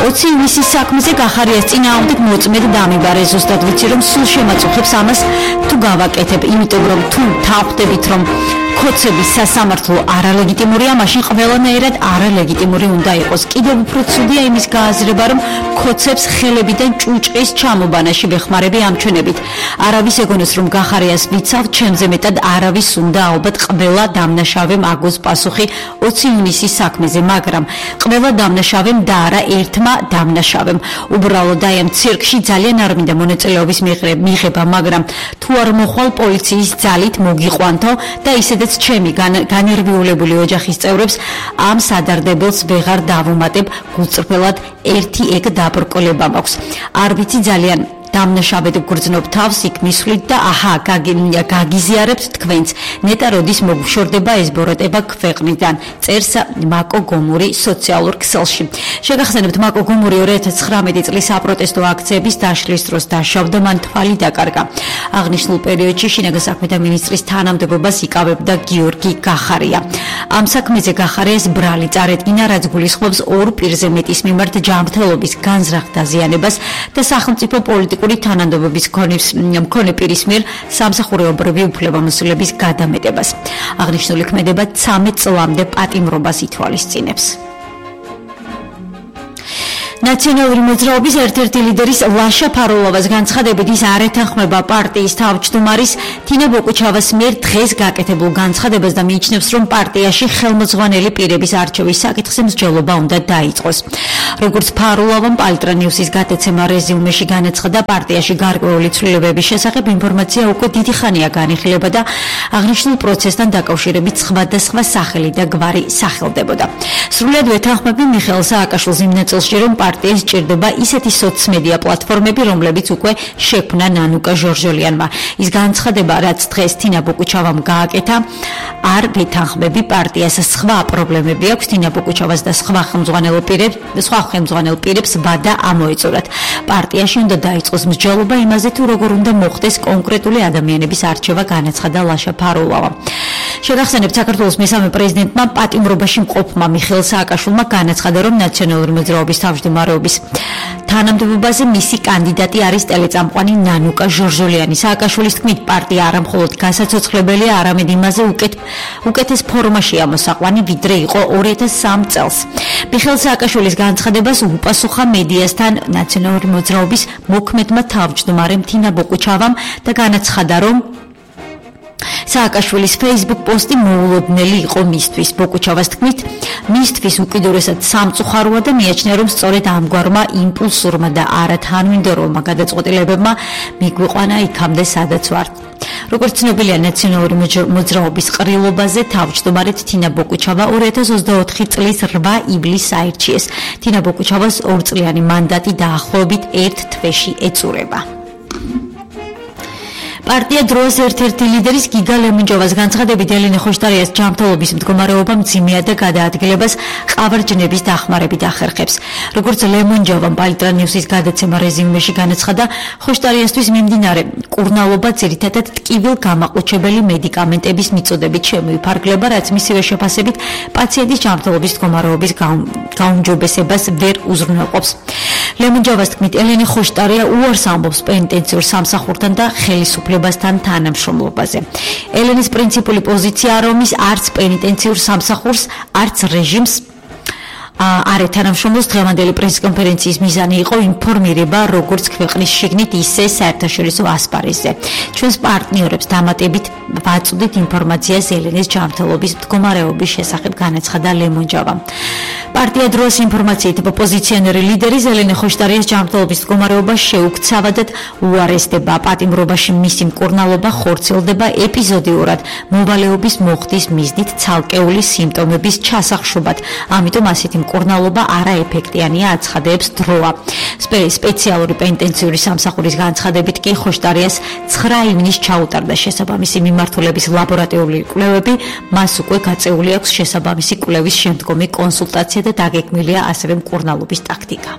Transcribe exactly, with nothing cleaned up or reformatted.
ოცი ივნისის საქმეზე გახარიას წინააღმდეგ მოწმედ დამიბარე. ზუსტად ვიცი რომ სულ შემაწუხებს ამას თუ გავაკეთებ, იმიტომ რომ თუ თავხდებით რომ ქოცების სასამართლო არალეგიტიმურია, მაშინ ყველანაირად არალეგიტიმური უნდა იყოს. კიდევ უფრო ცუდია იმის გააზრება, რომ ქოცებს ხელებიდან ჭუჭყის ჩამობანაში ვეხმარები ამჩვენებით. არავის ეგონოს რომ გახარიას ვიცავ, ჩემზე მეტად არავის უნდა ალბათ ყველა დამნაშავემ აგოს პასუხი ოცი ივნისის საქმეზე, მაგრამ ყველა დამნაშავემ და არა ერთმა დამნაშავემ. უბრალოდ აი ამ ცირკში ძალიან არ მინდა მონაწილეობის მიღება, მაგრამ თუ არ მოხვალ პოლიციის ძალით მოგიყვანთო და ისედაც ჩემი განერვიულებული ოჯახის წევრებს ამ სადარდებელს ვეღარ დავუმატებ. გულწრფელად ერთი ეგ დაბრკოლება მაქვს. არ ვიცი ძალიან დამნაშავედ გრძნობ თავს იქ მისვლით და აჰა გაგიზიარებთ თქვენც. ნეტა როდის მოგშორდება ეს ბოროტება ქვეყნიდან, წერს მაკო გომური სოციალურ ქსელში. შეგახსენებთ, მაკო გომური ორი ათას ცხრამეტი წლის საპროტესტო აქციების დაშლის დროს დაშავდა, მან თვალი დაკარგა. აღნიშნულ პერიოდში შინაგან საქმეთა მინისტრის თანამდებობას იკავებდა გიორგი გახარია. ამ საქმეზე გახარიას ბრალი წარედგინა, რაც გულისხმობს ორ პირზე მეტის მიმართ ჯანმრთელობის განზრახ დაზიანებას და სახელმწიფო პოლიტიკურ თანამდებობის მქონე პირის მიერ სამსახურეობრივი უფლებამოსილების გადამეტებას. აღნიშნული ქმედება ცამეტ წლამდე პატიმრობას ითვალისწინებს. ნაციონალური მოძრაობის ერთ-ერთი ლიდერის ლაშა ფარულოვას განცხადებით ის არ ეთანხმება პარტიის თავმჯდომარის თინა ბოკუჩავას მიერ დღეს გაკეთებულ განცხადებას და მიიჩნევს, რომ პარტიაში ხელმოძღვანელი პირების არჩევის საკითხზე მსჯელობა უნდა დაიწყოს. როგორც ფარულოვამ პალტრა ნიუსის გატაცემა რეზიუმეში განაცხადა, პარტიაში გარკვეული ცვლილებების შესახებ ინფორმაცია უკვე დიდი ხანია განიხილება და აღნიშნულ პროცესთან დაკავშირებით სხვადასხვა სახელი და გვარი სახელდებოდა. სრულად ვეთანხმები მიხეილ სააკაშვილის იმ ნაწილში, რომ პარტიას სჭირდება ისეთი სოციმედია პლატფორმები, რომლებიც უკვე შექმნა ნანუკა ჟორჟოლიანმა. ის განცხადება, რაც დღეს თინა ბოკუჩავამ გააკეთა, არ ვეთანხმები პარტიას სხვა პრობლემები აქვს, თინა ბოკუჩავას და სხვა ხელმძღვანელ პირებს, სხვა ხელმძღვანელ პირებს ვადა ამოეწურათ. პარტიაში უნდა დაიწყოს მსჯელობა იმაზე, თუ როგორ უნდა მოხდეს კონკრეტული ადამიანების არჩევა, განაცხადა ლაშა ფარულოვამ. შეგახსენებთ, საქართველოს მესამე პრეზიდენტმა პატიმრობაში მყოფმა მიხეილ სააკაშვილმა განაცხადა, რომ ნაციონალური მოძრაობის თავმჯდომარეობის თანამდებობაზე მისი კანდიდატი არის ტელეწამყვანი ნანუკა ჟორჟოლიანი. სააკაშვილის თქმით, პარტია არა მხოლოდ განსაცოცხლებელია, არამედ იმაზე უკეთ, უკეთეს ფორმაშია მოსაყვანი, ვიდრე იყო ორი ათას სამი წელს. მიხეილ სააკაშვილის განცხადებას უპასუხა მედიასთან ნაციონალური მოძრაობის მოქმედმა თავმჯდომარემ თინა ბოკუჩავამ და განაცხადა, რომ სააკაშვილის Facebook პოსტი მოულოდნელი იყო მისთვის. ბოკუჩავას თქმით, მისთვის უკიდურესად სამწუხაროა და მიაჩნია, რომ სწორედ ამგვარმა იმპულსურმა და არა თანმიმდევრულმა გადაწყვეტილებებმა მიგვიყვანა იქამდე, სადაც ვართ. როგორც ცნობილია, ნაციონალური მოძრაობის ყრილობაზე თავმჯდომარედ თინა ბოკუჩავა ორი ათას ოცდაოთხი წლის რვა ივლისს აირჩიეს. თინა ბოკუჩავას ორწლიანი მანდატი დაახლოებით ერთ თვეში ეწურება. პარტია დროის ერთ-ერთი ლიდერის გიგა ლემონჯოვას განცხადებით, ელენე ხოშტარიას ჯანმრთელობის მდგომარეობა მძიმეა და გადაადგილებას ყავარჯნების დახმარებით ახერხებს. როგორც ლემონჯოვამ პალტრა ნიუსის გადაცემა რეზიუმეში განაცხადა, ხოშტარიასთვის მიმდინარე კურნალობა ძირითადად ტკივილ გამაყუჩებელი მედიკამენტების მიწოდებით შემოიფარგლება, რაც მისივე შეფასებით პაციენტის ჯანმრთელობის მდგომარეობის გაუმჯობესებას ვერ უზრუნველყოფს. ლემონჯოვას თქმით, ელენე ხოშტარია უარს ამბობს პენიტენციურ სამსახურთან და ხელისუფლებასთან თანამშრომლობაზე. ელენეს პრინციპული პოზიციაა, რომ ის არც პენიტენციურ სამსახურს, არც რეჟიმს არ ეთანამშრომლობს. დღევანდელი პრესკონფერენციის მიზანი იყო ინფორმირება როგორც ქვეყნის შიგნით, ისე საერთაშორისო ასპარეზზე. ჩვენს პარტნიორებს დამატებით ვაწვდით ინფორმაციას ელენეს ჯანმრთელობის მდგომარეობის შესახებ, განაცხადა ლემონჯოვამ. პარტია დროის ინფორმაციით ოპოზიციონერი ლიდერი ელენე ხოშტარიას ჯანმრთელობის მდგომარეობა შეუქცავადად უარესდება. პატიმრობაში მისი მკურნალობა ხორციელდება ეპიზოდიურად, მოვალეობის მოხდის მიზნით ცალკეული სიმპტომების ჩასახშობად. ამიტომ ასეთი მკურნალობა არაეფექტიანია, აცხადებს დროა. სპეციალური პენიტენციური სამსახურის განცხადებით კი ხოშტარიას ცხრა ივნისს ჩაუტარდა შესაბამისი მიმართულების ლაბორატორიული კვლევები, მას უკვე გაწეული აქვს შესაბამისი კვლევის შემდგომი კონსულტაცია და დაგეგმილია ასევე მკურნალობის ტაქტიკა.